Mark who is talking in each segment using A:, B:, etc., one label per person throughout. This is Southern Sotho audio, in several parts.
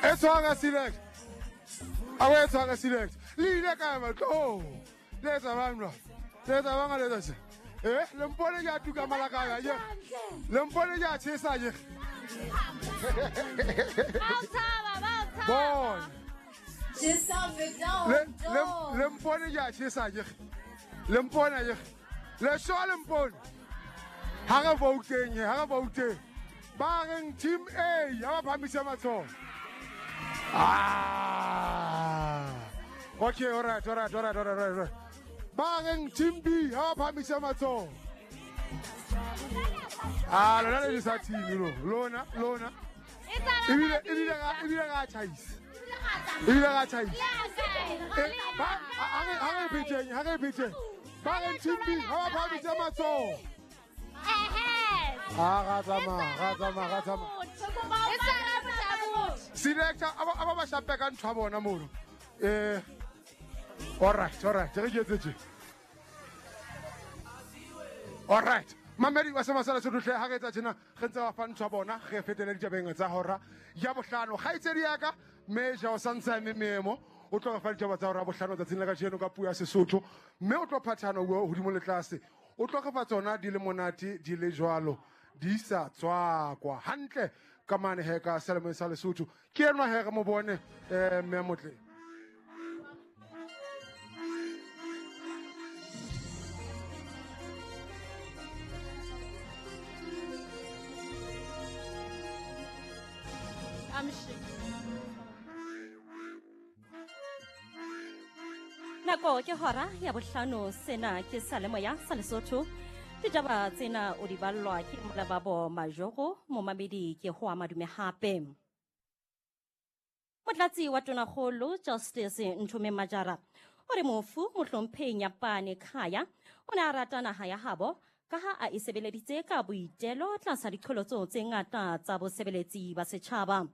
A: E tshwara select. A o e tshwara select. Le ile kae batho? Le etsa bang jwale? Le etsa bang ha le etsa tje? Eh, le mpone ke a tuka malakabje akere? Le mpone ke a tjhesa akere? Bona. Le le le mpone ke a tjhesa akere? Le mpone akere? Le sure le mpone? Ha re vouteng, ha re vouteng. Ba reng team A, ha ba phahamise matsoho. Ah. Okay, all right, all right, all right, all right, all right. Ba reng team B, ha ba phahamise matsoho. Ah, lona le sa team lo. Lona, lona. Ebile ebile ga ebile ga tjhaisa. Ebile ga tjhaisa. Eh, ba ha re pheteng, ha re pheteng. Ba reng team B, ha ba phahamise matsoho. Ah, ga tsamaya, ga tsamaya, ga tsamaya. Selector, aba ba shape ka ntho ya bona mono. Eh. All right, all right. Re ke etse tje. All right. Mamedi wa semasala se dutle ha re etsa tjena re ntse ba fa ntho ya bona re fetele ditabeng tsa hora ya bohlano. Kgaitsedi ya ka Meja o santse a eme meemo o tlo re fa ditaba tsa hora ya bohlano tsatsing la kajeno ka puo ya Sesotho mme o tlo phathana o bua hodimo le tlase o tlo re fa tsona di le monate di le jwalo di sa tswakwa hantle ka mane he ka selemeng sa Lesotho ke enwa he re mo bone mme motle.
B: Nako ke hora ya bohlano sena ke sa lemoya sa Lesotho. Ditaba tsena o di ballwa ke Molababo Majoro, momamedi ke ho madume hape. Motlatsi wa Tonakgolo Justice Nthome Majara o re mofu mohlomphehi Nyapane Khaya o ne a rata naha ya habo ka ha a e sebeleditse ka boitelo tlasa diqholotso tse ngata tsa bosebeletsi ba setjhaba.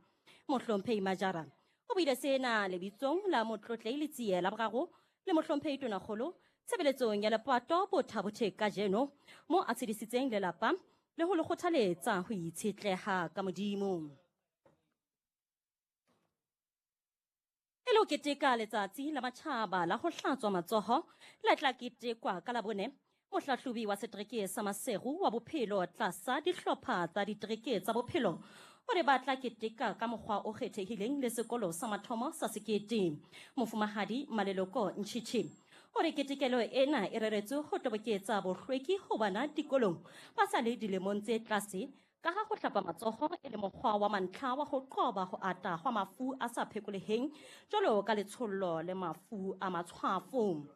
B: Mohlomphehi Majara o buile sena lebitsong la motlotlei Letsie la boraro le mohlomphehi Tonakgolo tshebeletsong ya lepato Bothabothe kajeno mo a tshedisitseng lelapa le ho le kgothaletsa ho itshetleha ka Modimo. E le ho keteka letsatsi la matjhaba la ho hlatswa matsoho le tla ketekwa ka Labone, mohlahlobi wa setereke sa Maseru wa bophelo tlasa dihlopha tsa ditereke tsa bophelo o re ba tla keteka ka mokgwa o kgethehileng le sekolo sa mathomo sa Sekete. Mofumahadi Maleloko Ntšhitšhi o re ketekelo ena e reretswe ho toboketsa bohlweki ho bana dikolong ba sa le dilemong tse tlase ka ha ho hlapa matsoho e le mokgwa wa mantlha wa ho qoba ho ata hwa mafu a sa phekoleheng jwalo ka letshollo le mafu a matshwafo.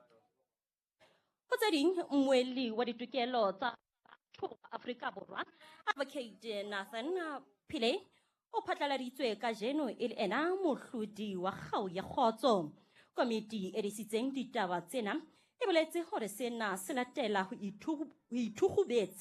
B: Ho tse ding, mmuelli wa ditokelo tsa batho ba Afrika Borwa, Advocate Nathan Pillay, o phatlaladitswe kajeno e le ena mohlodi wa kgau ya kgotso. Komiti e disitseng ditaba tsena e boletse hore sena se latela ho ithukgubetsa